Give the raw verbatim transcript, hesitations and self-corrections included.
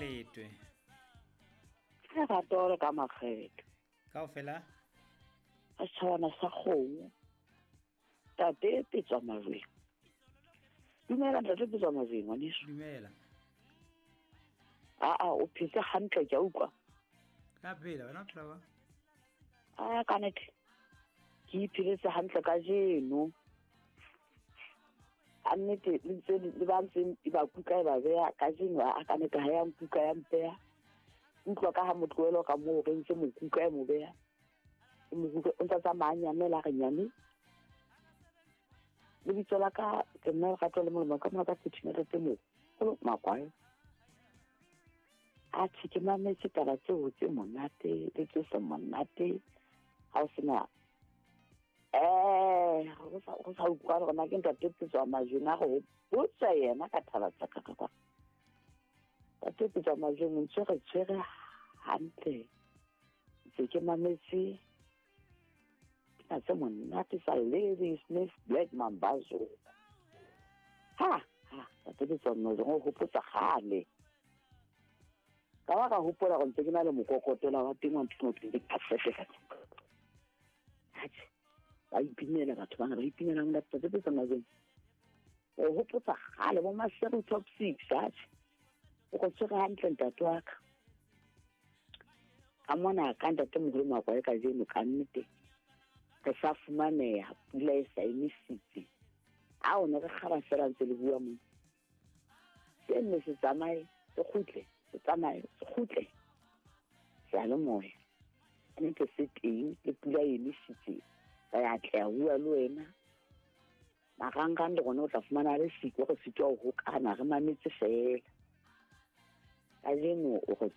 Makgetwe. Lerato le ka Makgetwe. Kaofela? A setjhabana sa kgomo. Ntate Petswa Majweng. Dumela ntate Petswa Majweng ngwaneso. Dumela. Aa o phetse hantle ke a utlwa. Ka phela wena o phela jwang? A ka nnete. Ke ipheletse hantle kajeno. Ka nnete le ntse le ba ntseng e ba kuka e ba beha kajeno a ka nnete ha ya nkuka ya mpeha. Utlwa ka ha motlohelo ka moo re ntse mo kuka e mo beha. E mo kuka o ntsa tsamaya a nyamela re nyame. Lebitso la ka ke nna Lerato le Molemo ka mona ka Phuthimela tse moholo Makwae. Atjhe ke mametse taba tseo tse monate le tse seng monate. Ha o sena eh go sa go sa utlwa hore na ke ntate Petswa Majweng a re botsa yena ka taba tsa ka ka kwa. Ntate Petswa Majweng o ntse re tshwere hantle. Ntse ke mametse pina tse monate sa Lady Smith Black Mambazo. Ha ha ntate Petswa Majweng o hopotsa kgale. Ka ba ka hopola hore ntse ke na le mokokotela wa teng wa ntho e ke cassette ka tlung. Atjhe ba ipinela batho bana ba ipinela ntate Petswa Majweng. O hopotsa kgale bo Maseru Top Six atjhe. O go tshwere hantle ntate wa ka. Ka mona ka ntate moholo Makwae kajeno ka nnete. Re sa fumaneha pula e sa emisitse. A o ne re kgaba fela ntse le bua mo. Se nne se tsamaye se kgutle, se tsamaye se kgutle. Seyalemoya. Nnete se teng le pula e emisitse. Re a tla bua le wena. Marangrang le rona o tla fumana le siko re sitwa ho hokana re mametse fela. Kajeno o re